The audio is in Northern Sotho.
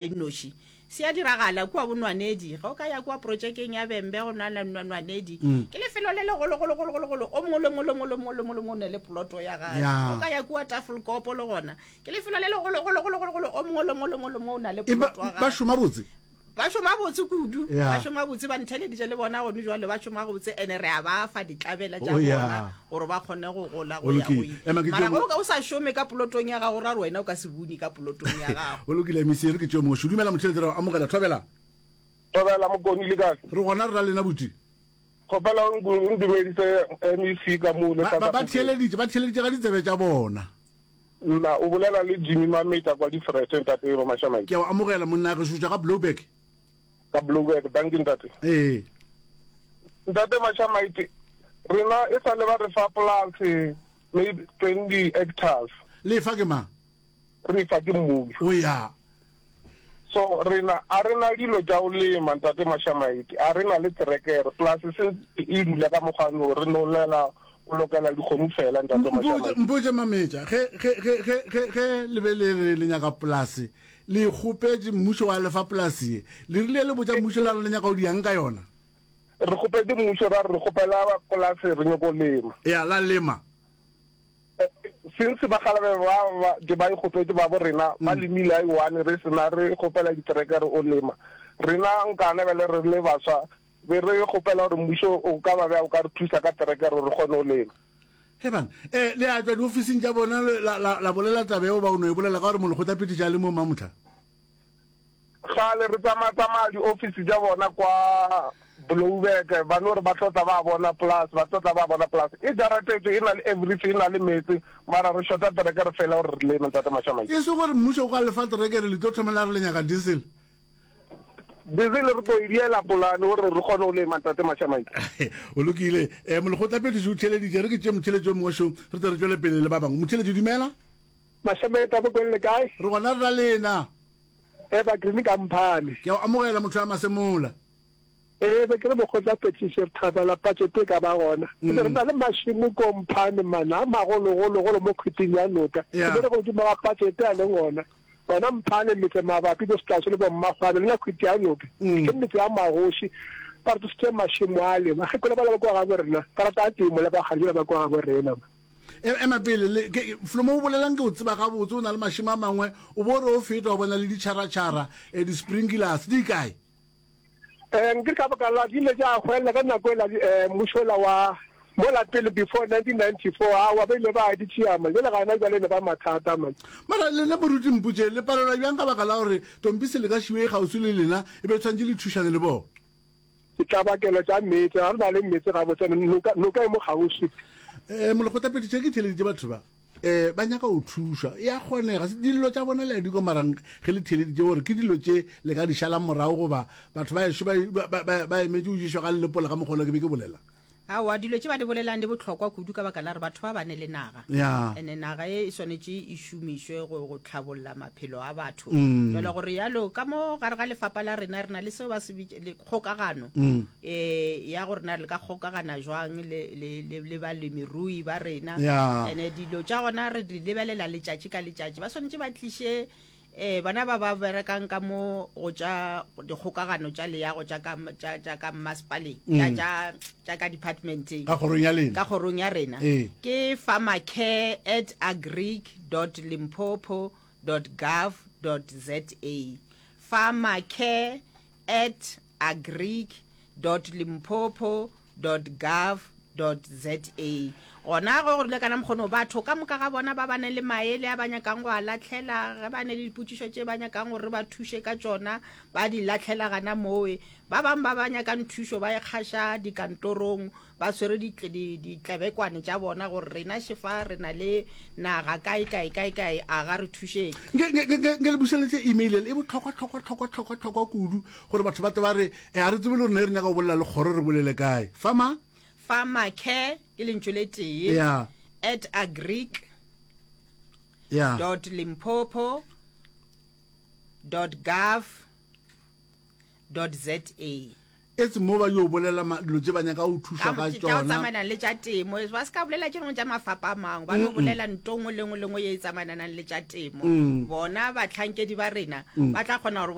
Nnoši. Se a diragala kua Bonwanedi. Ge o ka ya kua projekeng ya Bembe go na le Nwanedi. Ke lefelo le legologologologolo. O mongwe le mongwe le mongwe le mongwe le mongwe le mongwe o ne le ploto ya gagwe. Ge o ka ya kua Tafelkop le gona ke lefelo le legologologologolo. O mongwe le mongwe le mongwe le mongwe o na le ploto ya gagwe. Ba šoma botse? Ba šoma botse kudu. Ba šoma botse, ba ntheleditše le bona gone jwale ba šoma gabotse ene re a ba fa ditlabela tša bona gore ba kgone go gola go ya go ile. Mara ge o ka o sa šome ka polotong ya gago ra re wena o ka se bune ka polotong ya gago. Go lokile MEC re ke tšeo mongwe. Dumela motheeletši re a amogela. Thobela. Thobela Mokoni le kae? Re gona re ra lena buti. Kgopela o ndumedise MEC ka mo le Ba ba theeleditše ba theeleditše ka ditsebe tša bona. Nna o bolela le Jimmy Mameta kwa Difrete ntate Mashamaite. Ke a o amogela monna gešo tšwa ga Blouberg. Ka Blouberg, dankie ntate. Ee. Ntate Mashamaite, rena e sa le ba re fa polase maybe 20 hectares. Le fa ke mang? Re fa ke mmušo. O ya. So rena a re na dilo tša go lema ntate Mashamaite, a re na le terekere, polase se e dula ka mokgwa no re no llela go lokela dikgomo fela ntate Mashamaite. Mpotše Mametša, ge ge ge ge ge ge le be le re le nyaka polase, le e kgopetše mmušo wa le fa polase ye, le rile le botša mmušo la re le nyaka go diang ka yona? Re kgopetše mmušo ra re re kgopela polase re nyoko lema. Ya la lema. Since bakgalabe ba ba ke ba ikgopetše ba bo rena ba lemile a one re sena re kgopela diterekere o lema rena nkana bjale re le baswa be re kgopela gore mmušo o ka ba bja o ka re thusa ka terekere gore re kgone go lema. He bana, eh, le a tšwa diofising tša bona la, la, la bolela taba yeo ba o no e bolela ka gore molekgotlaphethiši a le mo mamohla? Kgale re tsamaya-tsamaya di-office tša bona kwa Blouberg, ba no re ba tlo tla ba bona polase, ba tlo tla ba bona polase. E jaratetswe, e na le everything, e na le meetse, mara re shota terekere fela gore re leme, Ntate Mashamaite. E se gore mmušo o ka le fa terekere, le tlo thoma la re le nyaka diesel? Diesel re tlo e diela polane gore re kgone go lema, Ntate Mashamaite. Go lokile. Um Molekgotlaphethiši o theeleditše, re ke tšee motheeletši o mongwe šo, re tle re tšwele pele le ba bangwe. Motheeletši, dumela. Mashamaite a Bokweng le kae? Re gona re ra lena. Eba Green ka Mphane. Ke a o amogela motho wa Masemola. Ee, be ke re mokgotla Petiši re thabela budget e ka ba gona. Re be re na le mašemo ko Mphane man a magologologolo mo khwiting ya noka. Re be re godimo ga budget a leng gona. Gona Mphane metse mabapi bo Setlaso le bo Mmakgwane le na khwiti ya noka. Ke metse ya magoši. Ba re tlositše mašemo ale. Bakgekolo bala ba kwa gabo rena ba rata temo le bakgalabje ba kwa gabo rena. Ema pele, le, ke, Flomo o bolelang ke o tseba gabotse, o na le mašemo a mangwe, o bo re o feta wa bona le ditšharatšhara, eh, di-sprinklers, di kae? Eh, nke ka baka la di ile tša hwelela ka nako ela eh, mmušo ola wa mola pele before 1994, aowa ba ile ba di tšea man, jale gana jale ne ba mathata man. Mara lena moruti mpotše, le palelwa bjang ka baka la gore Tompisi le ka šiwe e kgauswi le lena, e be tshwanetše le thušane le bona? Ditlabakelo tša meetse, ga re na le meetse gabotse, noka, noka e mo kgauswi. Eh, molekgotlaphethiši ge ke theeleditše batho ba eh ba nyaka go thušwa e a kgonega dillo tša bona le a di kwa mara ge le theeleditše gore ke dilo tše le ka di šalang morago goba batho ba ešo ba emetše go ješwa ga lelepola ka mokgwa ke be ke bolela Aowa, dilo tše ba di bolelang di bohlokwa kudu ka baka la gore batho ba ba ne le naga. Ya. Ene naga e e swanetše e šomišwe go, go tlhabolla maphelo a batho. Jwale gore yalo ka mo gare ga lefapa la rena re na le seo ba se bitša le kgokagano eh ya gore na re ka kgokagana jwang le, le, le, le balemirui ba rena. Ya. Ene dilo tša gona re di lebelela letšatši ka letšatši. Ba swanetše ba tliše Ee, bona ba ba berekang ka mo go tša dikgokagano tša leago tša ka tša tša ka mmasepaleng tša mm. tša tša ka departmenteng ka kgorong ya lena ka kgorong ya rena ee. ke farmercare at agric dot limpopo dot gov dot za farmercare at agric dot limpopo dot gov dot za. Gona ge go rile kana mokgono, batho ka moka ga bona ba ba ne le maele a ba nyakang go a lahlela, ge ba ne le dipotšišo tše ba nyakang gore re ba thuše ka tšona, ba di lahlela gana mowe. Ba bang ba ba nyakang thušo ba e kgaša dikantorong, ba swere ditlebekwane tša bona gore rena šefa re na le naga kae kae kae kae, a ga re thušeng. Nke le bušeletše email e bohlokwa hlokwa hlokwa hlokwa hlokwa kudu gore batho ba tle ba re E, a re tsebe le gore ne re nyaka go bolela le kgoro re bolele kae. Farmer? Farmer care ke lentšu le tee. Yeah. At agric. Yeah. Dot Limpopo. Dot gov. Dot za. Etse mo ba yo bolela dilo tše ba nyaka go thušwa ka tša go tšona. tsamaelana le tša temo. Ba se ka bolela tše dingwe tša mafapa a mangwe, ba no bolela nto nngwe le nngwe le nngwe ye e tsamaelanang le tša temo. Bona bahlankedi ba rena ba tla kgona gore.